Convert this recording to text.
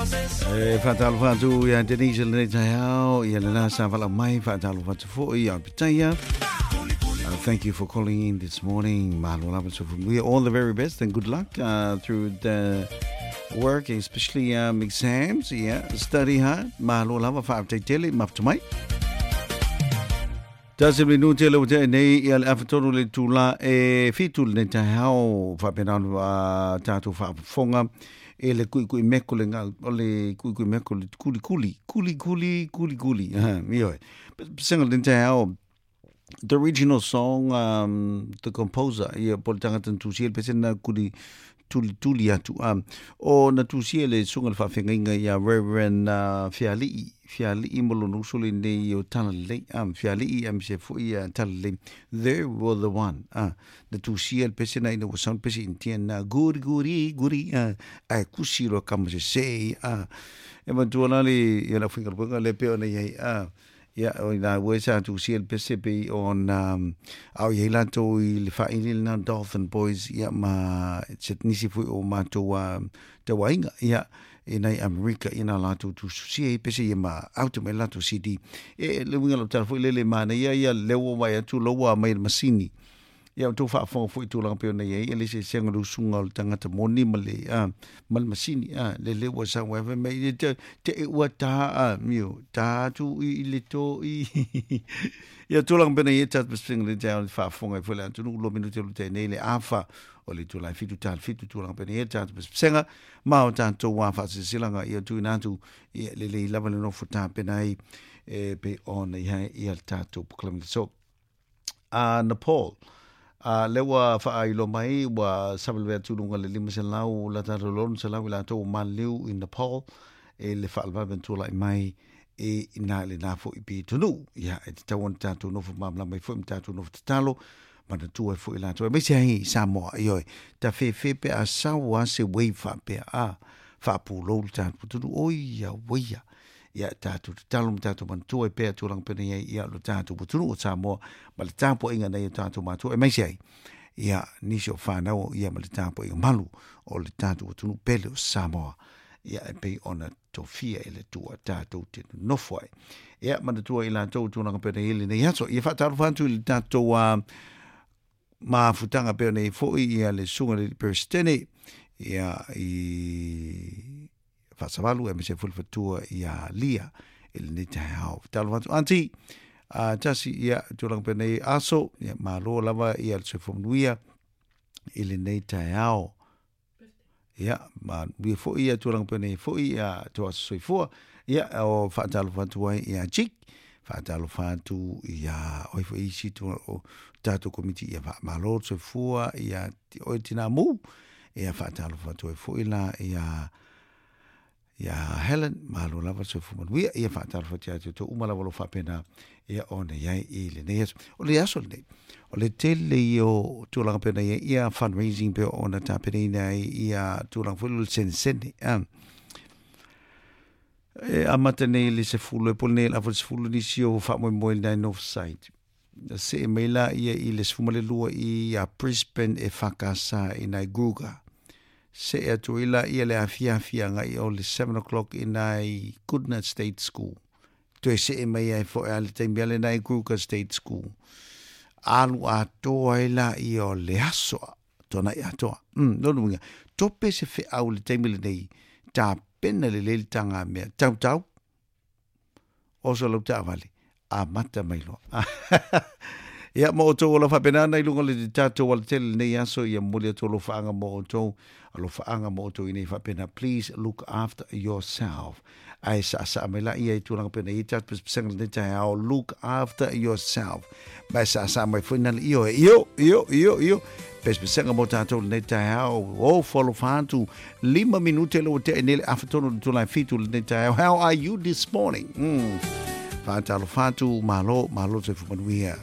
E faatalofa atu ia Denise i lenei taeao, ia lena sa valaau mai, faatalofa atu foi ia Pitaia. Thank you for calling in this morning. Mahalo lava so from we all the very best and good luck through the work, especially exams. Yeah, study hard. Mahalo lava whaafetai mafuta mai. Tasi minute le ua nei ia le afatonu le tula e fitu le nei taeao faapena ona tatou faafofoga e le kuikui meko le ngau o le kuikui meko le kuli kuli kuli kuli kuli kuli ha ioe pesega le taeao. The original song, the composer ia po le tagata na tusia le pese na kuli tuli tuli atu o na tusia le susuga le faafeagaiga ia Reverend Fiali'i Fiali'i mo lona uso lenei o Talalelei Fiali'i aemaise foi ia Talalelei. They were the one na tusia le pese na ina ua sound pese Indian na guri guri guri ae kusi loa kama sese e matua la le ia lau faigaluega le pei ona i ai ia, o ina ua sa tusia le pese pei ona a o i ai latou i le faaili lena Dolphin Boys ia ma se nisi foi o matou tauaiga ia i nai Amerika ia na latou tususia ai pese ia ma auta mai latou CD. E le uiga o le tala foi lele manaia ia lea ua vaai atu loua mai le masini. Ia outou faafofoga foi i tulaga pei ona i ai, e le eseesega o le usuga o le tagata moni ma le, a, ma le masini, a, le le ua sau ai fai mai, te, te e ua tā, a, mio, tā atu i, i le tō i. Ia tulaga pei ona i ai tatou pesepesega le taeao le faafofoga ai foi le atunuu lua minute o le tae nei le afa o le itula e fitu tala fitu tulaga pei ona i ai tatou pesepesega ma o tatou a faasilasilaga ia tuuina atu ia lelei lava le nofo tapena ai e pei ona i ai ia le tatou polokalame so a Nepal. A lea ua faailoa mai ua savalivea atu i luga le 500 lata atu le 600 i latou ua maliliu i Nepal i le faalavelave na tulai mai i ina i lena foi pitonuu. Ia, e tatau ona tatou nofo malamalama ai foi ma tatou nofo tatalo manatua ai foi i latou aemaise ai i Samoa. Ioe, ta fefe pe a sau lava se wave faapea, a, faapulou le tatou atunuu. Oi auaia! Ia tatou tatalo ma tatou manatua ai pea tulaga pei ona i ai ia lo tatou atunuu o Samoa ma le tapuaiga nai o tatou matua aemaise ai ia nisi o fanau ia ma le tapuaiga malu o le tatou atunuu pele o Samoa ia e pei ona tofia e le Atua tatou te nonofo ai. Ia manatua i latou tulaga pei ona i ai lenei aso. Ia faatalofa atu i le tatou mafutaga pei ona i ai foi ia le Susuga i le Peresetene ia i Faasavalu aemaise foi le fatua ia Lia i lenei taeao. Talofa atu aunty, tasi ia tulaga pei ona i ai aso, ia malo lava ia le soifua manuia i lenei taeao. Ia, manuia foi ia tulaga pei ona i ai foi ia tou aso soifua. Ia, o faatalofa atu ai ia Jake, faatalofa atu ia oi foi isi o tatou komiti ia faamalo le soifua ia oe tina mu. Ia faatalofa atu ai foi la ia ia Helen, malo lava le soifua manuia. Ia faatalofa atu ia te outou uma lava o lo o faapena ia ona i ai i lenei aso. O le aso lenei, o le tele ia o tulaga pei ona i ai ia fundraising pei ona tapenaina ai ia tulaga foi lele o le senesene. E amata nei i le 10 e pule nei le afa le 10 nisi o faamoemoe i le Northside. See mai la ia i le 12 i a Brisbane e whakasa i nai Gruga. See atu ai la ia le afiafi agai o le 7 o'clock i nai Goodna State School. Toe see mai ai foi a le taimi ale nai Gruga State School. Alu atoa ai la ia o le aso tuanai atoa. Lona uiga, tope se feau i le taimi lenei, tapena lelei le taga mea tautau, Oso lau taavale, amata mai loa. Ia, mo outou o lo faapena ana i luga o le tatou alatele lenei aso, ia momoli atu alofaaga mo outou, alofaaga mo outou ina ia faapena, please look after yourself. Ae saasaa mai la ia i tulaga pei ona i ai tatou pesepesega lenei taeao, look after yourself. Ma e saasaa mai foi nale ioe, io, io, io, io, pesepesega mo tatou lenei taeao, o fo alofa atu, 5 minute le ua tea nei le afa tonu le itula e fitu lenei taeao. How are you this morning? Faatalofa atu, malo, malo le soifua manuia.